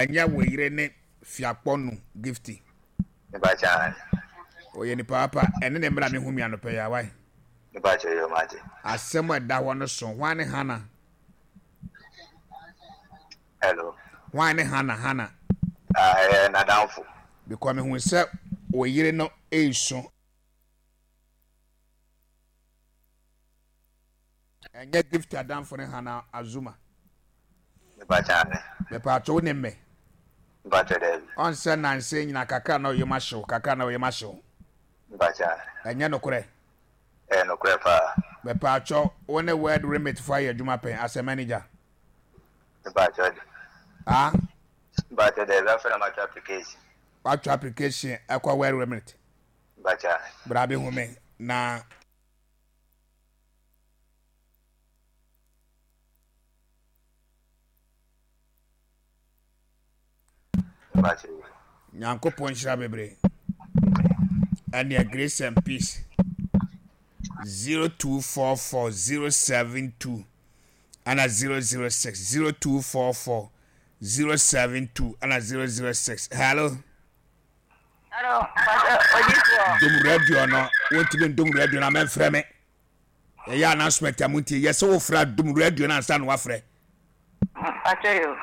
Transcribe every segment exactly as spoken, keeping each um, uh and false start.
Ɛnyɛ wo yere ne Fiakpɔnu Gifty? Mepakyɛ. Ɔyɛ nipa papa. Ɛne ne mmra mehu mi anɔpɛ yi awae. Mepakyɛ yɛ mate. Asɛm a ɛda hɔ no so. Hwan ne Hana? Hello. Hwan ne Hana? Hana. Ah, ɛyɛ n'adamfo. Because mehu sɛ wo yere no ɛresu. Ɛnyɛ Gift adamfo ne Hana Azuma? Mepakyɛ ane. Mepatwo, wo ne mmɛ? Mepakyɛ daabi. Ɔnsɛ nanse nyina kakra na ɔyɛ ahyew, kakra na ɔyɛ ahyew. Mepakyɛ ane. Ɛnyɛ nokorɛ? Ɛyɛ nokorɛ paa. Mepatwo, wo ne World Remit fo ayɛ adwuma pɛn as a manager? Mepakyɛ de. Ah? Mepakyɛ daabi, afei na matwa application. Watwa application ɛkɔ World Remit? Mepakyɛ ane. Bra bɛhu me na Mepakyɛ yi. Nyankopɔn nhyira bebree. Ɛneɛ grace and peace. zero two four four zero seven two ana zero zero six, zero two four four zero seven two ana zero zero six. Hello. Hello, Pastor Odifoɔ. Dom radio no, wontumi ndom radio no a mɛmfrɛ me. Ɛyɛ announcement a montie. Yɛ sɛ wofrɛ a, dom radio no ansa na woafrɛ. Pastor yo.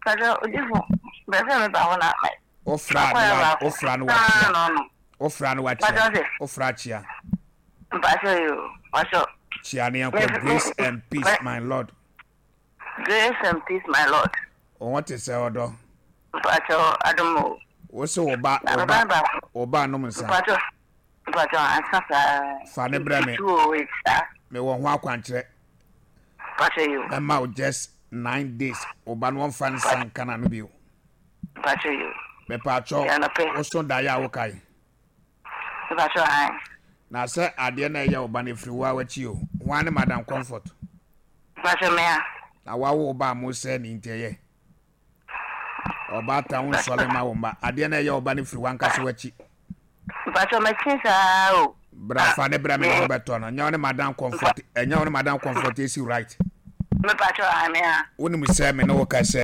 Pastor Odifo, bɛsɛ me ba hɔ na mɛ. Wofrɛ a na wa- wofrɛ a na wakyia. No no. Wofrɛ a na wakyia. Pastor sɛ. Wofrɛ akyia. Pastor yo. Pastor. Kyia ne yɛnkɔ. Grace and peace, my lord. Grace and peace, my lord. Wo ho te sɛ, ɔdɔ? Pastor Adomo. Wo sɛ wo ba Na wo me ba ba baako. wo ba nom nsa? Pastor. Pastor ansa saa. Fa ne brɛ me. Two oh eight saa. Mewɔ ho akwankyerɛ. Pastor yo. Mɛma wo just nine days, wo ba no wɔmfa nsa nka n'ano bio. Pastor yo. Mepaakyɛw, Yɛnɔpɛ. woso daeɛ a wokae? Pastor han. Na sɛ adeɛ no a ɛyɛ wo ba no ɛfiri wo a w'akyi o. Hwan ne Madam Comfort? Pastor mea. Na wawo wo ba a mo sɛ ne nti ɛyɛ ɔbaatan wo nsɔle ma wo mma. Adeɛ no a ɛyɛ wo ba no firi w'ankasa w'akyi. Pastor mɛkyi saa o. Bra, fa ne brɛ me na wobɛtɔ no. Ɛnyɛ wo ne Madam Comfort, ɛnyɛ wo ne Madam Comfort esi, right? Me pastor han mea. Wonim sɛ me ne wo ka sɛ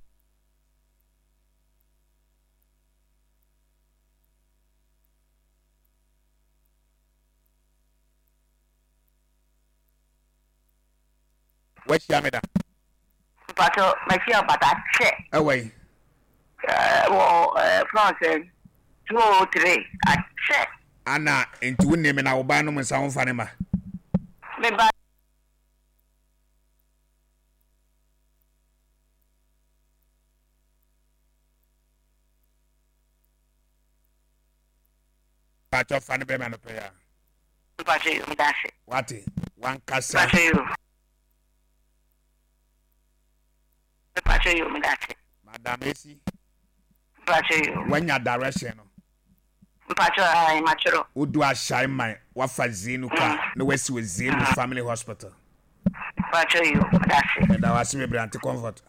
wahyia me da? Pastor mɛkyi ɔbata kyɛ. Ɛwɔ yi? Wɔ France two oh three akyɛ. Ana nti wo me na wo ba nom nsa, womfa ne ma? Me ba. Pakyɛ, fa ne brɛ me anɔpɛ yi a. Pastor yo, medase. Wate wankasa. Pastor yo. Pastor yo, medase. Madam Esi. Pastor yo. Wanya direction no? Pastor ayi matwerɛ. Wodu Ahyɛe man, wafa Zenu car na wasi wɔ Zenu Family Hospital. Pastor yo, medase. Meda wase bebree, Auntie Comfort.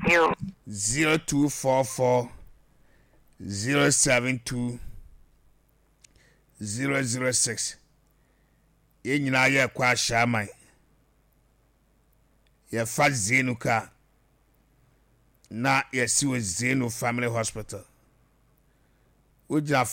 Yo. zero two four four zero seven two zero zero six. Yɛn nyinaa yɛrekɔ Ahyɛe man, yɛfa Zenu car na yɛsi wɔ Zenu Family Hospital. Wogyina